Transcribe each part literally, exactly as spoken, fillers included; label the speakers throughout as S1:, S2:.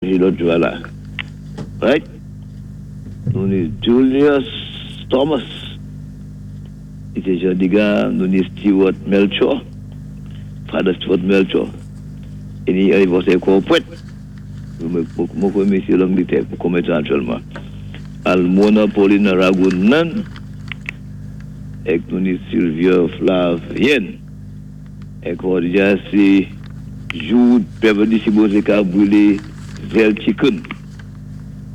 S1: Lòt jou la. Right? Nou ni Julius Thomas. I té Jadiga, nou ni Stewart Melchor. Father Stewart Melchor. I ni anivèsè kon pwèt. Mwen kwen misye Langletè pou konmé tan aktyèlman. Almona Paulina Ragunan. Èk nou ni Sylvia Flavien. Èk jòdi-a sé jou Beverly sipozé ka bwilé zèl chicken.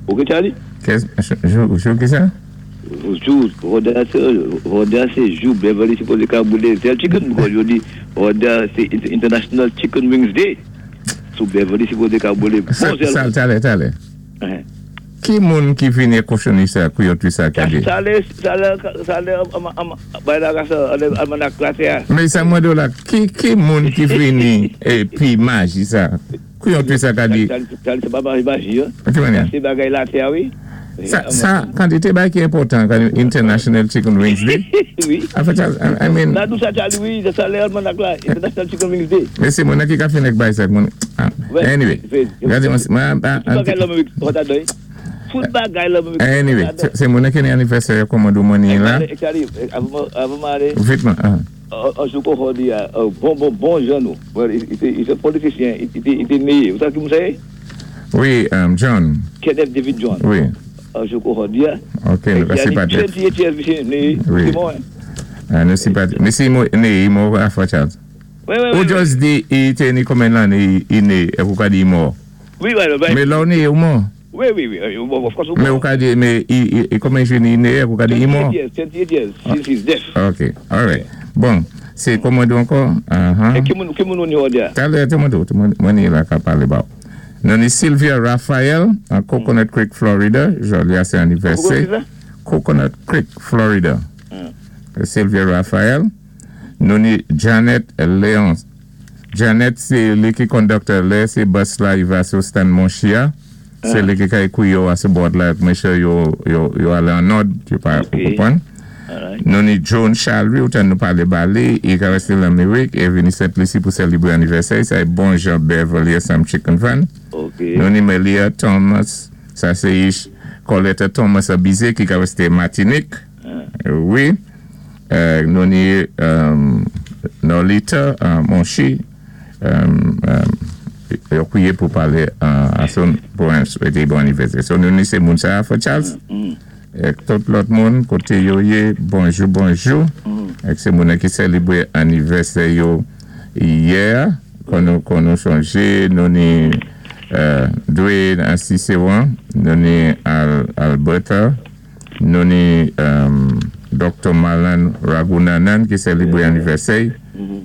S1: Ok, Charlie?
S2: Jou, jou ki sa?
S1: Jou, jòdi-a sé jou Beverly sipozé ka bwilé zèl chicken. Because jòdi, jòdi-a sé International Chicken Wings Day. So Beverly sipozé ka bwilé bon zèl.
S2: Sa, talè, talè. Ki moun ki vini kochonni sa, kouyòtwi sa ka di?
S1: Sa lé, sa lé, sa lé, bay la sa, almanak la sé a.
S2: Men sa mwen do la, ki, ki moun ki vini épi maji sa? Kouyòtwi sa ka di?
S1: Charlie, sé pa maji, hein?
S2: Ki mannyè?
S1: Sé bagay latè, wi.
S2: Sa, sa, kantité bagay ki enpòtan, kan International Chicken Wings Day?
S1: Wi.
S2: An fèt, I mean...
S1: La dou sa, Charlie, wi, sa lé almanak la, International Chicken Wings Day.
S2: Men sé moun ki ka fin ak bay sa, moun... Anyway, gade mwen, mwen...
S1: Tout bagay la mwen, wata doy. Tout bagay la mwen.
S2: Anyway, sé moun ki ni anivèsè kòman do money la.
S1: Charlie, avan m alé.
S2: Vitman, ah.
S1: An jou kon jòdi a, bon, bon, bon jan nou. Well, i té politisyen, i té, i té néyé. Ou sa ki moun sa yé?
S2: Wi, John.
S1: Kenneth David John.
S2: Wi.
S1: An jou kon jòdi a.
S2: Ok, nou ka si pati.
S1: twenty-eight years misye néyé.
S2: Wi.
S1: C'est bon, hein?
S2: Ah, nou si pati. Misye néyé, i mò afwa Charles.
S1: Wi, wi, wi.
S2: Ou just di, i té ni konmen lanné i néyé, èk ou ka di i mò.
S1: Wi, wi, wi.
S2: Men lò ou néyé ou mò?
S1: Wi, wi, wi, of course ou mò.
S2: Men ou ka di, men i, i, konmen jou ni néyé, ou ka di i mò?
S1: twenty-eight years, twenty-eight years, since his death.
S2: Ok, alright. Bon, sé kòman do ankò?
S1: E ki moun, ki moun nou ni jòdi a?
S2: Talè, te mwen do, te mwen, mwen ni la ka palé ba ou. Nou ni Sylvia Raphael, an Coconut Creek, Florida. Jòdi a sé anivèsè. Coconut Creek, Florida. Sylvia Raphael. Nou ni Janet Leon. Janet, sé li ki conductor lè, sé bus la i va sou stand Monchia. Sé li ki kay kou yo a sou board la, mèchè yo, yo, yo alé an òd, yo pa konpwann. Nou ni Joan Chalry, ou tan nou palé ba li, i ka resté l'Amérik, e vini Sent Lisi pou sélibwé anivèsè, sa é bon jan Beverly Sam Chicken Fan. Nou ni Melia Thomas, sa sé ish Coletta Thomas Abize, ki ka resté Matinik. Wi. Nou ni Nolita Monchi, yo kwiye pou palé ason pou an swété bon anivèsè. So nou ni sé moun sa a, Charles? Èk tout lòt moun, koté yo yé, bonjou, bonjou. Èk sé moun ki sélibwé anivèsè yo yè, kon nou, kon nou chonjé, nou ni Dwayne Assisewan, nou ni Alberta, nou ni Doctor Malan Ragunanan ki sélibwé anivèsè.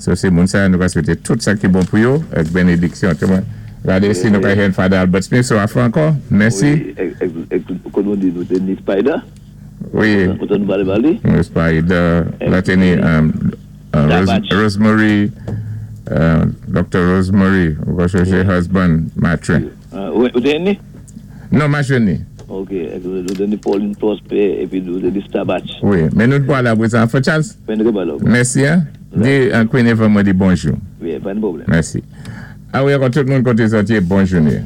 S2: So sé moun sa, nou ka swété tout sa ki bon pou yo, èk bénédiksyon. Gade si nou ka jwenn Father Albert Smith sou afwa ankò. Mèsi.
S1: Wi, èk kon nou di nou té ni Spider.
S2: Wi.
S1: Ou tan nou palé ba li?
S2: Spider, la té ni Rosemary, Doctor Rosemary, ou ka chonjé husband, Matrin.
S1: Ou té ni?
S2: Non, ma jwenn ni.
S1: Ok, nou té ni Pauline Prosper, épi nou té ni Starbatch.
S2: Wi, men nou pwal apwé sa, Frè Charles.
S1: Men nou té pwal.
S2: Mèsi, hein? Di Queen Eva mwen di bonjou.
S1: Wi, pa ni pwoblèm.
S2: Mèsi. A wi, ankò tout moun koté zòt yé, bon jouné.